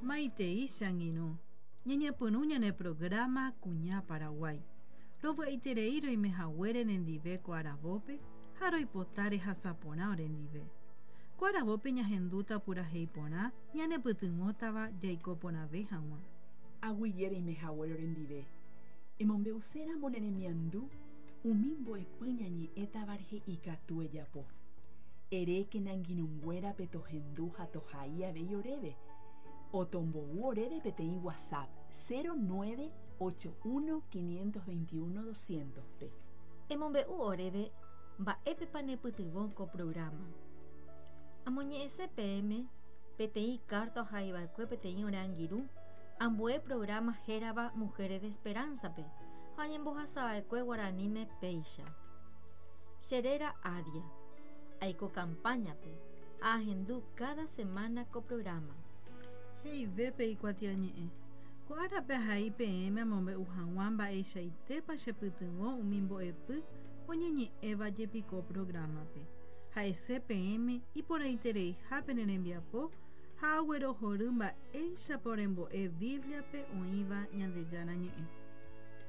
Maitei che angirũ, ñañepyrũ ñane programa Kuña Paraguái. Rovy'aiterei roime haguére nendive ko aravópe ha roipota rehasa porã orendive. Ko aravópe ñahendúta purahéi porã ñanepytyvõtava jaiko porãve hag̃ua. Aguyje reime haguére orendive. Emombe'uséramo ne remiandu umi mbo'epy ñañe'ẽtava rehe ikatu ejapo. Erékena angirũnguérape tohendu ha tohai avei oréve, otombou oréve peteĩ WhatsApp 0981 521 200-pe. Emombe'u oréve mba'épepa nepytyvõ ko programa. Amoñe'ẽse peẽme peteĩ kárta ohaiva'ekue peteĩ ore angirũ ambue programa hérava Mujeres de Esperanza-pe ha oñembohasava'ekue guaraníme péicha. Che réra Adia. Aiko campaña-pe ha ahendu káda semána ko programa. He'ive pe ikuatiañe'ẽ. Ko árape ahai peẽme amombe'u hag̃ua mba'eichaitépa chepytyvõ umi mbo'epy oñeñe'ẽva jepi ko prográmape. Ha'ese peẽme iporãitereiha pene rembiapo ha aguerohory mba'éichapa orembo'e Bíbliape oĩva Ñandejára Ñe'ẽ.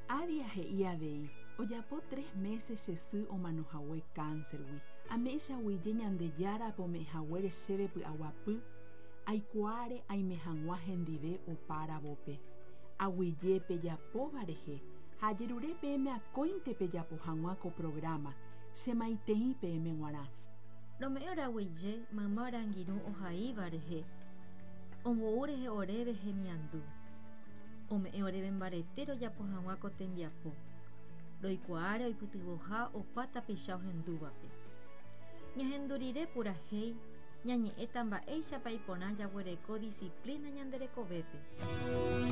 Adia he'i avei, Ojapo tres mése che sy omano hague kánsergui. Ame'ẽ che aguyje Ñandejárape ome'ẽ haguére chéve py'aguapy, aikuaáre aime hag̃ua hendive opa aravópe. Aguyje pejapóva rehe ha ajerure peẽme akóinte pejapo hag̃ua ko prográma, che maitei peẽme g̃uarã. Rome'ẽ ore aguyje mayma ore angirũ ohaíva rehe, ombou rehe oréve hemiandu. Ome'ẽ oréve mbarete rojapo hag̃ua ko tembiapo, roikuaáre oipytyvõha opa tapicha ohendúvape. Ñahendu rire purahéi, ñañe'ẽta mba'éichapa iporã jaguereko disciplina ñande rekovépe.